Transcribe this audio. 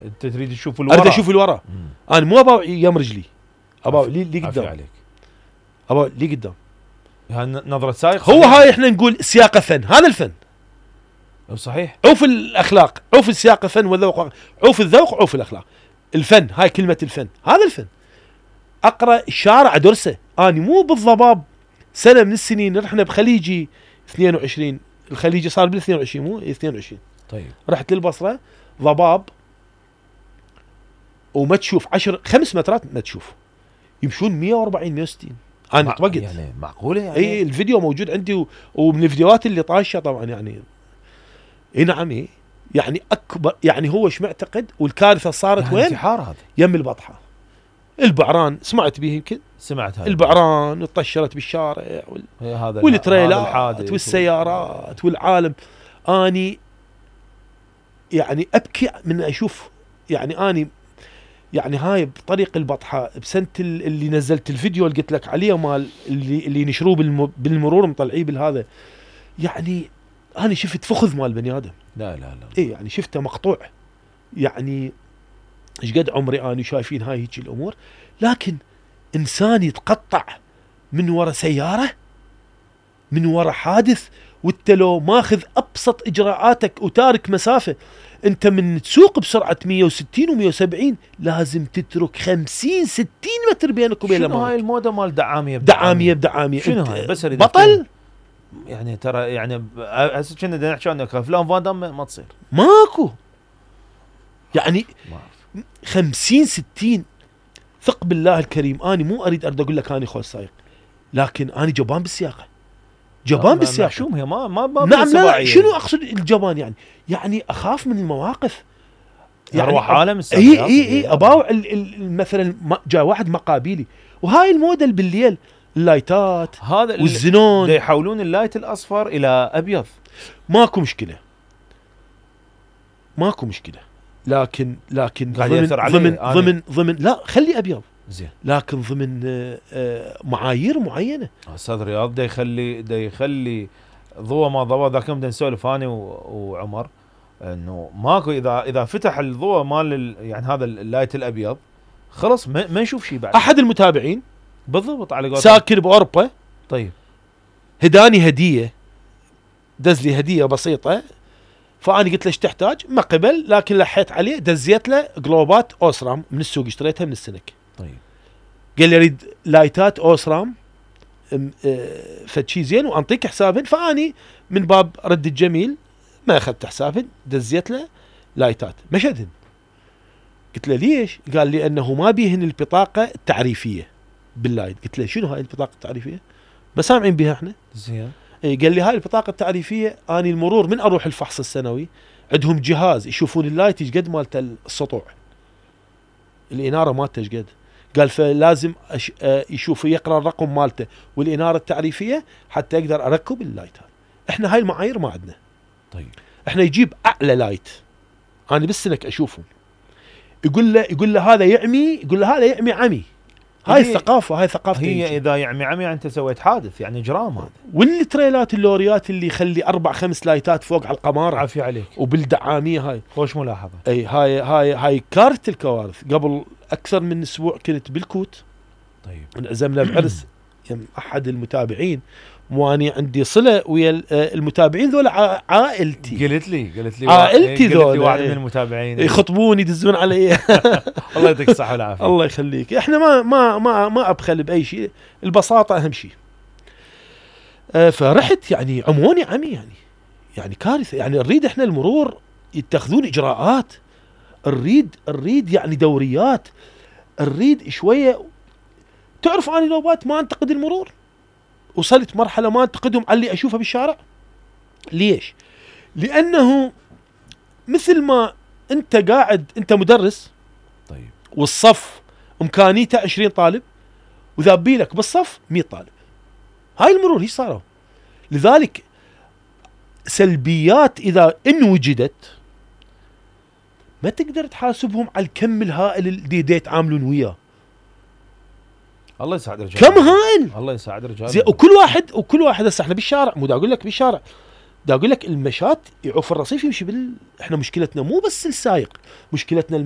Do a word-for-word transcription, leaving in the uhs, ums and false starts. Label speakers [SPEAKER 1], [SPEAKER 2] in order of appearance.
[SPEAKER 1] انت تريد تشوف الورا.
[SPEAKER 2] اريد اشوف الورا. انا مو ابا يم رجلي، ابا لي لي قدام
[SPEAKER 1] عليك.
[SPEAKER 2] ابا لي قدام.
[SPEAKER 1] هاي نظرة سائق.
[SPEAKER 2] هو هاي احنا نقول سياقه فن، هذا الفن.
[SPEAKER 1] صحيح.
[SPEAKER 2] عوف الاخلاق، عوف السياقه فن والذوق، عوف الذوق عوف الاخلاق. الفن هاي كلمه الفن، هذا الفن. اقرا الشارع ادرسه، اني مو بالضباب. سنه من السنين رحنا بخليجي اثنين وعشرين، الخليجي صار بال اثنين وعشرين مو اثنين وعشرين.
[SPEAKER 1] طيب
[SPEAKER 2] رحت للبصره ضباب وما تشوف عشر خمس مترات ما تشوف، يمشون مية وأربعين مية وستين. انا توقت
[SPEAKER 1] يعني معقوله يعني.
[SPEAKER 2] اي الفيديو موجود عندي و... ومن الفيديوهات اللي طاشه طبعا يعني. اي نعم اي يعني اكبر يعني هو ايش معتقد. والكارثه صارت
[SPEAKER 1] يعني
[SPEAKER 2] وين؟
[SPEAKER 1] انتحار هذا.
[SPEAKER 2] يم البطحه. البعران سمعت به يمكن.
[SPEAKER 1] سمعت هذا.
[SPEAKER 2] البعران طشرت بالشارع وال...
[SPEAKER 1] هذا
[SPEAKER 2] والتريلات والسيارات والعالم. اني يعني ابكي من اشوف يعني اني يعني هاي بطريق البطحه بسنه اللي نزلت الفيديو اللي قلت لك عليه مال اللي اللي نشروه بالم... بالمرور مطلعيه بالهذا. يعني انا شفت فخذ مال بني ادم.
[SPEAKER 1] لا لا لا.
[SPEAKER 2] اي يعني شفته مقطوع. يعني ايش قد عمري انا شايفين هاي هيك الامور، لكن انسان يتقطع من ورا سياره، من ورا حادث، وانت لو ماخذ ابسط اجراءاتك وتارك مسافه. انت من تسوق بسرعه مية وستين ومية وسبعين لازم تترك خمسين ستين متر بينك وبين
[SPEAKER 1] شنو هاي الموضه مال دعاميه
[SPEAKER 2] بدعاميه بدعاميه
[SPEAKER 1] شنو هاي؟ بس
[SPEAKER 2] بطل
[SPEAKER 1] يعني ترى يعني هسه كنا بدنا نحكي عنك افلام فان دام ما تصير
[SPEAKER 2] ماكو يعني خمسين ستين. ثق بالله الكريم اني مو اريد ارد اقول لك اني خوش سايق، لكن اني جبان بالسياقه، جبان بالسياقه.
[SPEAKER 1] شو هي ما ما ما
[SPEAKER 2] نعم لا شنو اقصد الجبان يعني يعني اخاف من المواقف
[SPEAKER 1] يعني اروح عالم
[SPEAKER 2] اي اي اي اباوع مثلا جاء واحد مقابيلي وهاي الموديل بالليل اللايتات
[SPEAKER 1] هذا
[SPEAKER 2] والزنون
[SPEAKER 1] يحولون اللايت الاصفر الى ابيض.
[SPEAKER 2] ماكو مشكله ماكو مشكله لكن لكن ضمن ضمن ضمن ضمن لا خلي ابيض
[SPEAKER 1] زين،
[SPEAKER 2] لكن ضمن معايير معينه.
[SPEAKER 1] استاذ رياض دا يخلي دا يخلي ضوء ما ضوء. ذاك بدنا نسولف انا وعمر انه ماكو اذا اذا فتح الضوء مال يعني هذا اللايت الابيض خلص ما, ما نشوف شيء بعد.
[SPEAKER 2] احد المتابعين
[SPEAKER 1] بالضبط على قولتك
[SPEAKER 2] ساكن باوروبا
[SPEAKER 1] طيب
[SPEAKER 2] هداني هديه، دز لي هديه بسيطه، فانا قلت له ايش تحتاج؟ ما قبل، لكن لحيت عليه دزيت له جلوبات اوسرام من السوق اشتريتها من السنك.
[SPEAKER 1] طيب
[SPEAKER 2] قال لي اريد لايتات اوسرام فد شيء زين وانطيك حسابهن، فاني من باب رد الجميل ما اخذت حسابهن، دزيت له لايتات مشدهن. قلت له ليش؟ قال لي انه ما بيهن البطاقه التعريفيه باللايت. قلت له شنو هاي البطاقه التعريفيه؟ ما سامعين بها احنا.
[SPEAKER 1] زين.
[SPEAKER 2] اي قال لي هاي البطاقه التعريفيه اني المرور من اروح الفحص السنوي عندهم جهاز يشوفون اللايت ايش قد مالته السطوع، الاناره مالته ايش قد. قال فلازم أش... آه يشوف يقرا الرقم مالته والاناره التعريفيه حتى اقدر اركب اللايتات. احنا هاي المعايير ما عندنا.
[SPEAKER 1] طيب
[SPEAKER 2] احنا يجيب اعلى لايت انا بالسنك اشوفه، يقول له يقول له هذا يعمي، يقول له هذا يعمي عمي. هاي الثقافه هاي ثقافه
[SPEAKER 1] هي
[SPEAKER 2] يجي.
[SPEAKER 1] اذا يعمي عمي انت سويت حادث يعني اجرام هذا.
[SPEAKER 2] والتريلات اللوريات اللي يخلي اربع خمس لايتات فوق على القمار
[SPEAKER 1] عافيه عليك
[SPEAKER 2] وبالدعاميه هاي
[SPEAKER 1] خوش ملاحظه.
[SPEAKER 2] اي هاي هاي هاي كارثه الكوارث. قبل اكثر من اسبوع كنت بالكوت.
[SPEAKER 1] طيب
[SPEAKER 2] انعزمنا بعرس يم احد المتابعين، واني عندي صله ويا المتابعين ذول عائلتي.
[SPEAKER 1] قلت لي قلت لي
[SPEAKER 2] عائلتي ذول
[SPEAKER 1] قلت لي واحد من المتابعين
[SPEAKER 2] يخطبون يدزون علي.
[SPEAKER 1] الله يعطيك الصحه والعافيه.
[SPEAKER 2] الله يخليك. احنا ما ما ما ما ابخل باي شيء، البساطه اهم شيء. أه فرحت يعني عموني عمي يعني يعني كارثه. يعني نريد احنا المرور يتخذون اجراءات، نريد نريد يعني دوريات، نريد شويه. تعرف اني نوبات ما انتقد المرور، وصلت مرحله ما انتقدهم على اللي اشوفه بالشارع. ليش؟ لانه مثل ما انت قاعد انت مدرس
[SPEAKER 1] طيب
[SPEAKER 2] والصف امكانيته عشرين طالب وذابي لك بالصف مية طالب، هاي المرور هي صاروا. لذلك سلبيات اذا ان وجدت ما تقدر تحاسبهم على الكم الهائل اللي دي يتعاملون وياه.
[SPEAKER 1] الله يساعد رجال،
[SPEAKER 2] كم هائل،
[SPEAKER 1] الله يساعد رجال
[SPEAKER 2] زي. وكل واحد وكل واحد هسه احنا بالشارع، مو دا اقول لك بالشارع، دا اقول لك المشات يعوف الرصيف يمشي بال. احنا مشكلتنا مو بس السايق، مشكلتنا المشي